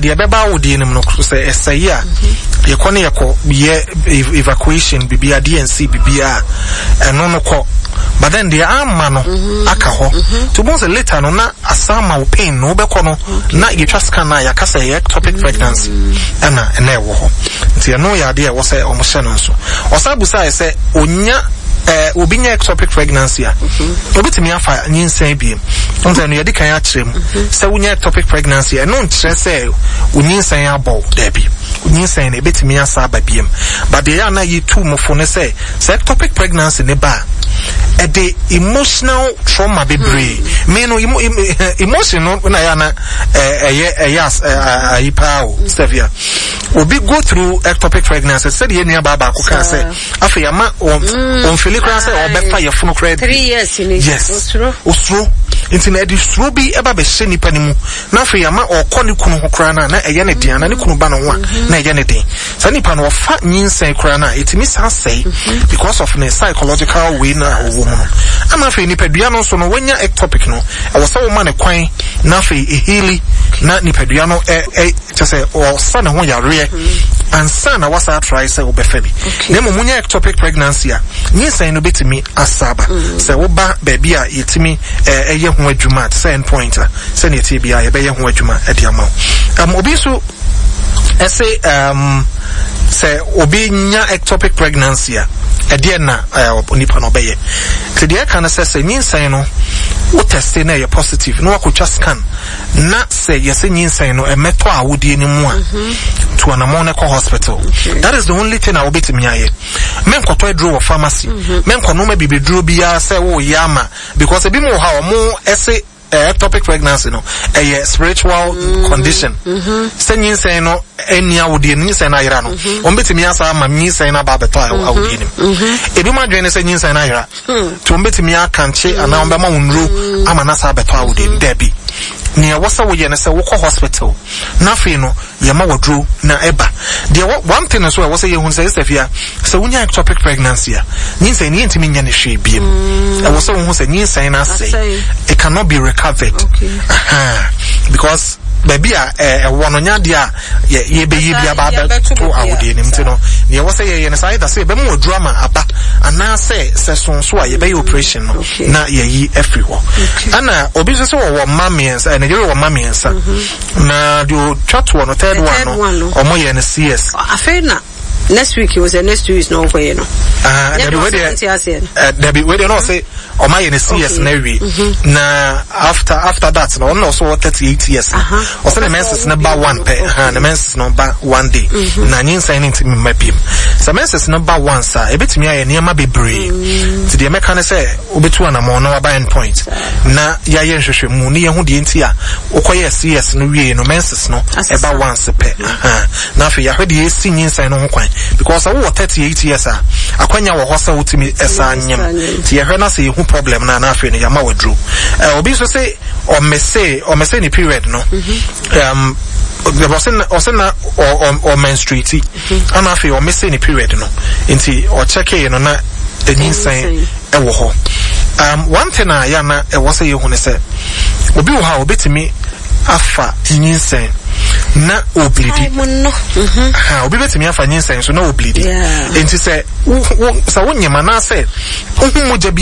deɛ ɛbɛba awodeɛ no mu no sɛ ɛsɛe a, yɛkɔ ne yɛkɔ yɛ evacuation biribiara, D&C biribiara, ɛno no kɔ. But then deɛ amma no aka hɔ. Nti wobɛhu sɛ later no na asan ma wo pain no wobɛkɔ no na yɛtwa scan no a yɛaka sɛ ɛyɛ ectopic pregnancy ɛna ɛna ɛwɔ hɔ. Nti ɛno yɛ adeɛ a ɛwɔ sɛ wɔhyɛ no nso. Ɔsan busaeɛ sɛ ɔnya eh, obi nya ectopic pregnancy a, obetumi afa nyinsɛn biem. Nti ɛno yɛde kan akyerɛ mu sɛ wonya ectopic pregnancy ɛno nkyerɛ sɛ wo nyinsɛn abɔ wo. Daabi. Nyinsɛn no ebetumi asa aba biem. But deɛ ɛyɛ a na yɛtu mo fo ne sɛ sɛ ectopic pregnancy ne ba a, ɛde emotional trauma bebree. Me no emotion no na ɛyɛ a na ɛyɛ ɛyɛ ayi paa o, Stevia. Obi go through ectopic pregnancy sɛdeɛ yɛn nua baa baako kaa sɛ afei ama wɔn wɔn fili koraa sɛ ɔbɛfa yɛfunu koraa bi. 3 years ni. Yes. Osuro. Osuro. Nti na ɛde suro bi ɛba bɛhyɛ nipa ne mu na afei ama ɔkɔ ne kunu ho koraa na na ɛyɛ ne den ana ne kunu ba ne ho a na ɛyɛ ne den. Saa nipa no ɔfa nyinsɛn koraa na ɛtumi san sɛe because of ne psychological way na ɔwɔ mu no. Ama afei nipadua no nso no wanya ectopic no, ɛwɔ sɛ woma ne kwan na afei eheal na nipadua no ɛ ɛ kyɛ sɛ ɔsa ne ho yareɛ ansa na wasa atry sɛ wobɛfa bi. Na mmom wonya ectopic pregnancy a, nyinsɛn no bɛtumi asa aba. Sɛ woba baabi a yɛtumi ɛyɛ ho adwuma te sɛ end point a, sɛnea ɛteɛ biara yɛbɛyɛ ho adwuma de ama wo. Obi nso ɛse sɛ obi nya ectopic pregnancy a, ɛdeɛ na nipa no ɔbɛyɛ. Nti deɛ ɛka no sɛ sɛ nyinsɛn no wo teste na ɛyɛ positive na wakɔtwa scan na sɛ yɛsɛ nyinsɛn no ɛmɛtɔ awodie no mu a, to anamɔn no kɔ hospital. That is the only thing a wobɛtumi ayɛ. Menkɔtɔ aduro wɔ pharmacy, menkɔnom abibiduro biara sɛ woyɛ ama, because ebi mu wɔ hɔ a ɔmo ɛse ectopic pregnancy no ɛyɛ spiritual condition. Sɛ nyinsɛn no ɛni awodie no, nyinsɛn no ayera no, wɔn bɛtumi asa ama nyinsɛn no aba abɛtɔ awodie no mu. Ebi mu adwene ne sɛ nyinsɛn no ayera, nti wɔn bɛtumi akankye anaa wɔn bɛma wɔn nnuro ama no asa abɛtɔ awodie no. Daabi, nea ɛwɔ sɛ woyɛ no sɛ wokɔ hospital na afei no yɛma waduro na ɛba. Deɛ wɔ one thing nso a ɛwɔ sɛ yɛhu sɛ sɛ fia sɛ wonya ectopic pregnancy a, nyinsɛn no yɛntumi nyɛ ne hwee biem. Ɛwɔ sɛ wohu sɛ nyinsɛn no asɛe, it cannot be recovered. Aha. Because baabi a ɛwɔ no nyɛ adeɛ a yɛbɛyɛ bi aba abɛto awodeɛ no nti no, deɛ ɛwɔ sɛ yɛyɛ no sɛ either sɛ yɛbɛma waduro ama aba anaasɛ sɛ sonso a yɛbɛyɛ operation no na yɛyi afiri hɔ. Ɛna obi nso sɛ wɔwɔ mma mmiɛnsa, ɛna yɛrɛ wɔ mma mmiɛnsa na deɛ ɔtwa toɔ no, third one no, ɔmo yɛ no CS. Afei na next week was the next 2 weeks na ɔkɔyɛ no. Ah, dabi wei deɛ, dabi wei deɛ na ɔsɛ ɔmo ayɛ no CS na awie na after that no ɔno na ɔsɛ ɔwɔ 38 years. Ɔsɛ ne menses no ba one pɛ ha, ne menses no ba one day na nyinsɛn no ntumi mma biem. Sɛ menses no ba once a, ebetumi ayɛ nneɛma bebree. Nti deɛ mɛka ne sɛ wobɛtu anammɔn na waba end point na yɛayɛ nhwehwɛmu ne yɛho deɛ nti a wokɔyɛ CS no wie no menses no ɛba once pɛ. Na afei yɛahwɛ deɛ ɛsi nyinsɛn no ho kwan, because sɛ wowɔ 38 years a, akwanya wɔ hɔ sɛ wotumi ɛsa nyem. Nti yɛhwɛ na sɛ yɛhu problem no a, na afei no yɛama waduro. Obi nso sɛ ɔmese ne period no, ɔsɛ na ɔmenstruate ana afei ɔmese ne period no, nti ɔkyɛkee no na nyinsɛn ɛwɔ hɔ. One thing a yɛ na ɛwɔ sɛ yɛhu ne sɛ obi wɔ hɔ a obetumi afa nyinsɛn na obleedi. Ha, obi betumi afa nyinsɛn so na obleedi. Nti sɛ wo sɛ wonyem anaasɛ wohu mogya bi